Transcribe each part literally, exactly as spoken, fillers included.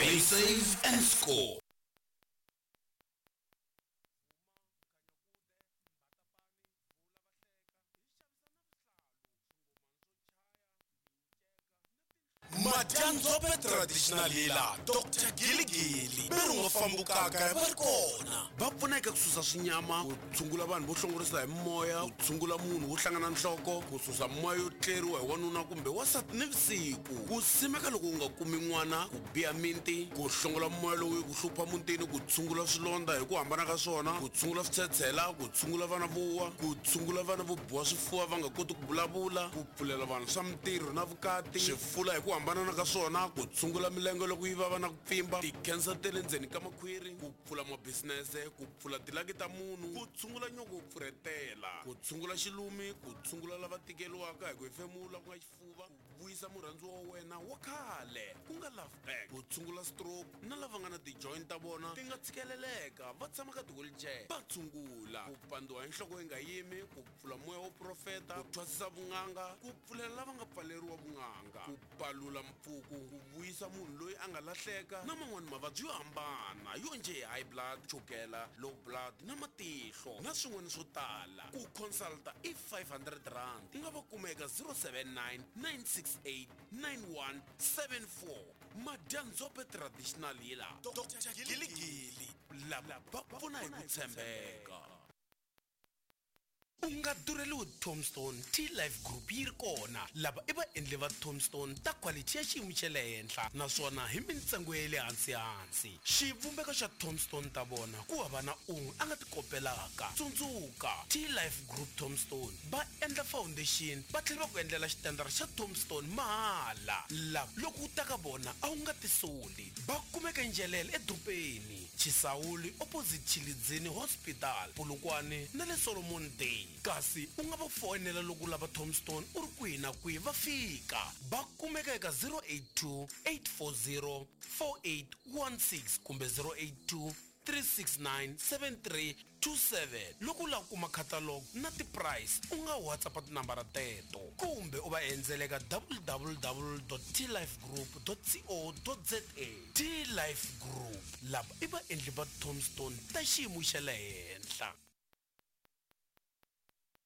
Play safe and score. Madyanzope traditional healer Doctor Giligili ve ri nga fambukaka va ri kona va pfuna eka ku susa swinyama, ku tshungula vanhu vo hlongorisa hi moya, ku tshungula munhu wo hlangana nhloko, ku susa moya yo tleriwa hi wanuna kumbe wansati nivusiku, ku simeka loko u nga kumi n'wana, ku biha minti, ku hlongola moya lowu ku hlupha mutini, ku tshungula swilondza hi ku hambana ka swona, ku tshungula switshetshela, ku tshungula vana vo wa, ku tshungula vana vo biwa swifuva va nga koti ku vulavula, ku pfulela vanhu swa mintirho na vukati, swifula hi ku hambana ka swona, ku tshungula milenge loko yi vava na ku pfimba, ti-cancer ta le ndzeni ka makhwiri, ku pfula mabisinese, ku pfula tilaki ta munhu, ku tshungula nyoko wo pfurhetela, ku tshungula xilumi, ku tshungula lava tikeriwaka hi ku hefemula ku nga xifuva, ku vuyisa murhandziwa wa wena wa khale ku nga love back, ku tshungula stroke na lava nga na ti-joint ta vona ti nga tshikeleleka va tshama ka ti-wheelchair va tshungula, ku pandziwa hi nhloko yi nga yimi, ku pfula moya wo profeta, ku thwasisa vun'anga, ku pfulela lava nga pfaleriwa vun'anga, ku palula mpfuku, ku vuyisa munhu loyi a nga lahleka na man'wani mavabyi yo hambana yo njhe high blood, chukela, low blood na matihlo na swin'wana swo tala. Ku consulta i five hundred rand, u nga va kuma eka zero seven nine nine six eight nine one seven four. Madyanzope traditional healer Doctor Giligili lava va pfuna hi ku tshembeka. U nga durheliwi Tombstone T-Life Group yi ri kona. Lava i vaendli va Tombstone ta quality ya xiyimo xa le henhla naswona hi mintsengo ya le hansi-hansi. Xivumbeko xa Tombstone ta vona ku hava na un'we a nga ti kopelaka. Tsundzuka, T-Life Group Tombstone va endla foundation va tlhela va ku endlela xitandara xa Tombstone mahala. Lava loko u ta ka vona a wu nga tisoli. Va kumeka Njelele edorobeni, Chisawuli opposite Chilidzini Hospital, Polokwane na le Solomon Day. Kasi u nga va foyinela loko u lava Tombstone u ri kwihi na kwihi va fika. Va kumeka eka zero eight two eight four zero four eight one six kumbe zero eight two three six nine seven three two seven. Loko u lava ku kuma catalog na ti-price u nga WhatsApp tinambara teto kumbe u va endzela eka w w w dot t life group dot co dot z a. T-Life Group lava i vaendli va Tombstone ta xiyimo xa le henhla.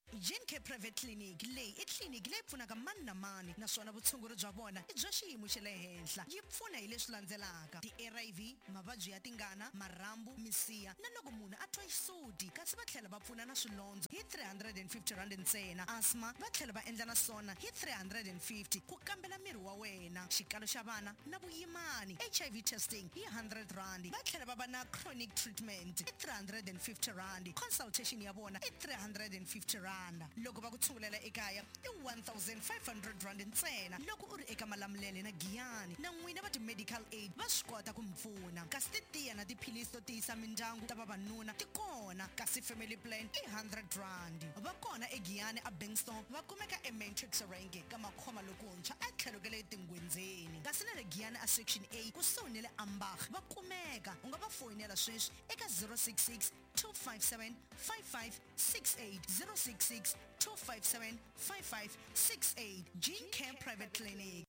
Gene Care Private Clinic leyi i tliliniki leyi pfunaka mani na mani naswona vutshunguri bya vona i bya xiyimo xa le henhla. Yi pfuna hi leswi landzelaka: ti-R I V, mavabyi ya tingana, marhambu, misiha na loko munhu a twa xisuti, kasi va tlhela va pfuna na swilondzo hi three hundred and fifty rand ntsena. Asthma va tlhela va endla na swona hi three hundred and fifty ku kambela miri wa wena, xikalo xa vana na vuyimani, H I V testing hi hundred rand. Va tlhela va va na chronic treatment hi three hundred and fifty rand. Consultation ya vona i three hundred and fifty rand. Loko va ku tshungulela ekaya i one thousand five hundred rand ntsena. Loko u ri eka Malamulele na Giyani na n'wina va ti-medical aid va swi kota ku mi pfuna. Kasi titiya na tiphilisi to tiyisa mindyangu ta vavanuna ti kona, kasi family plan i hundred rand. Va kona eGiyani a Bankston, va kumeka eMatrix Rank ka Makhoma lokuntshwa a tlhelo ka le Tingwenzeni. Kasi na le Giyani a Section A kusuhi na le Ambach va kumeka. U nga va foyinela sweswi eka zero six six two five seven five five six eight, zero six six two five seven five five six eight. Gene Care Private Clinic.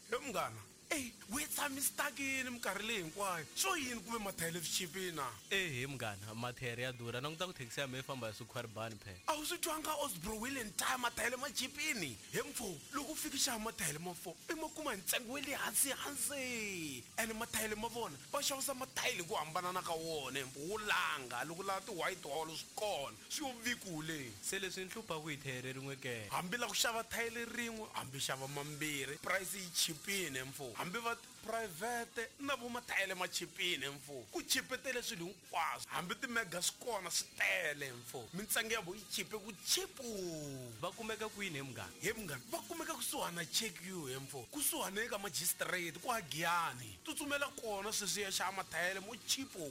He munghana, ey, we tshami stuckini minkarhi leyi hinkwayo. Swo yini kumbe mathayere swi chipile na? Ehe munghana, mathayere ya durha. Languta ku thekisi ya mina yi famba hi swikhwaribani phela. A wu swi twanga Osbro Wheel and Tire mathayere ma chipini? He mfo, loko u fika xava mathayere ma four, i ma kuma hi ntsengo wa le hansi hansi. Ene mathayere ma vona va xavisa mathayere hi ku hambanana ka wona, he mfo, wo langa loko u lava ti-white hall swi kona, swi yo vikule. Se leswi ni hluphaku hi thayere rin'we ke? Hambi la ku xava thayere rin'we, hambi xava mambirhi, price yi chipile he mfo. Hambi va private na vo mathayele ma chipile mfo. Ku chipetele swilo hinkwaswo, hambi ti-mega swi kona swi tele mfo. Mintsengo ya vo yi chipe ku chipu. Va kumeka kwini he munghana? He munghana, va kumeka kusuhani na Check U he mfo, kusuhani eka magistrate kwa Giyani. Tsutsumela kona sweswi ya xava mathayele mo chipo.